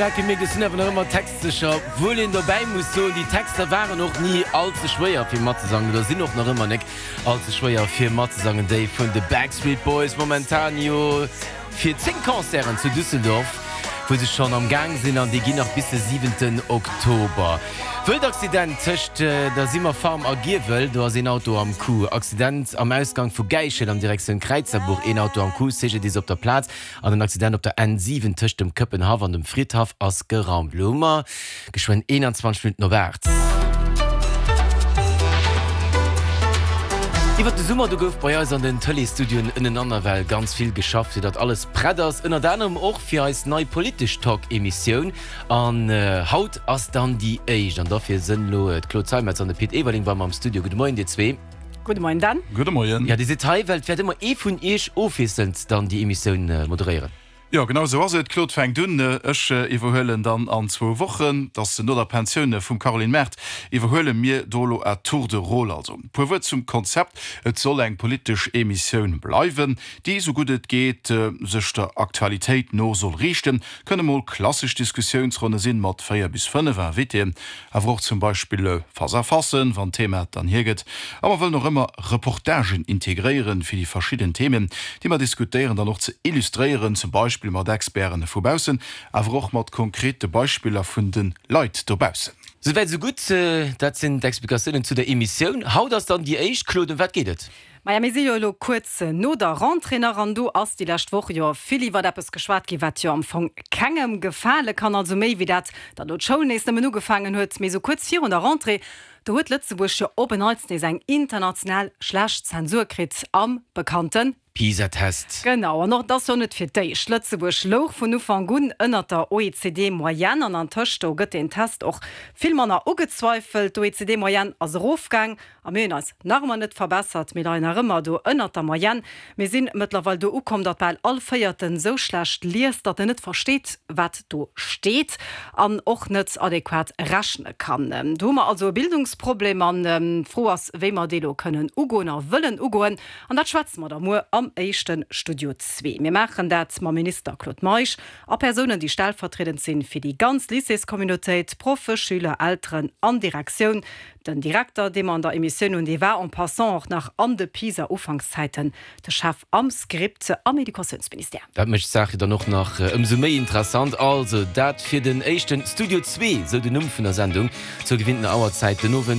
Dat gemierkt, ech sinn awer nach ëmmer textsécher, obwuel een dobäi muss soen, déi Texter waren och ni all ze schwéier fir matzesangen oder sinn och nach ëmmer nek all ze schwéier fir matzesangen, déi vun de Backstreet Boys, momentan jo fir 10 Concerten zu Düsseldorf, wou se schonn am Gaang sinn an déi ginn nach bis de siwenten Oktober. Wëldaccident tëscht der Simmer Farm a Giewel, do ass een Auto am Coup. Accident am Ausgang vu Gäichel an Direktioun Kräizerbuch, een Auto am Coup, CGDIS op der Plaz. An den Accident op der N 7 tëscht dem Këppenhaff an dem Fridhaff ass geraumt. Elo hu mer geschwënn 21 Minutten op 8. Iwwert de Summer, do gouf bei eis an den Tëleesstudioen ënnenaner well ganz vill geschafft, fir datt alles prett ass. Ënnert anerem och fir eis nei politesch Talk-Emissioun. An haut ass dann déi éischt. An derfir sënn elo d'Claude Zeimetz an de Pit Everling bei mer am Studio. Gudde Moien, dir zwee. Gudde Moien Dan. Gudde Moien. Jo, Dir sidd hei, well et wäert ëmmer ee vun Iech ofwiesselnd dann déi Emissioun moderéieren. Jo, genau esou ass et. D'Claude fänkt un, ech iwwerhuelen dann an zwou Wochen. Et ass no der Pensioun vum Caroline Mart, iwwerhuele mir do elo à tour de rôle. Also e puer Wuert zum Konzept, Et soll eng politesch Emissioun bleiwen, déi esou gutt et geet sech der Aktualitéit no soll riichten. Kënne mol klassesch Diskussiounsronne sinn, mat 4 bis 5 Invitéen, Awer och zum Beispill Face-à-facen, wann d'Thema et dann hiergëtt. A mer wëllen och ëmmer Reportagen integréieren, fir déi verschidden Themen, déi mer diskutéieren, dann och ze illustréieren, zum Beispill mat Experten vu baussen, awer och mat konkrete Beispiller vun de Leit dobaussen. Souwäit esou gutt. Dat sinn d'Explikatiounen zu der Emissioun. Haut ass dann déi éischt. Claude, ëm wat geet et? Maja, mir si jo elo kuerz no der Rentrée nach an do ass déi lescht Woch jo vill iwwert eppes geschwat ginn, wat jo am Fong kengem gefale kann. Also méi wéi dat, datt elo d'Schoul nees nëmmen ugefaangen huet, mee esou kuerz virun der Rentrée, do huet Lëtzebuerg jo op en Neits nees eng international schlecht Zensur kritt am bekannte. PISA-Test. Genau, an och et ass jo net fir d'éischt. Lëtzebuerg louch vun Ufank un ënnert der OECD-Moyenne an antëscht do gëtt deen Test och vill manner ugezweifelt. D'OECD-Moyenne ass erofgaang A mir hunn eis nach ëmmer net verbessert, mir leien nach ëmmer do ënnert der Moyenne. Mir sinn mëttlerweil do ukomm, datt bal all Véierten esou schlecht liest, datt en net versteet, wat do steet an och net adequat rechne kann. Do hu mer also e Bildungsproblem an d'Fro ass, wéi mer dee lo kënnen ugoen a wëllen ugoen. An dat schwätze mer da muer am éischte Studio zwee. Mir maachen dat mam Minister Claude Meisch a Persounen, déi stellvertriedend sinn fir déi ganz Lycéescommunautéit, Proffe, Schüler, Elteren an Direktioun. Den Direkter, dee mer an der Emissioun hunn, dee war en passant och nach an de PISA-Ufankszäiten de Chef am Script am Educatiounsministère. Dat mécht d'Saach jo dann och nach ëmsou méi interessant. Also dat fir den éischten Studio zwee, sou den Numm vun der Sendung, zur gewinntener Auerzäit den Owend.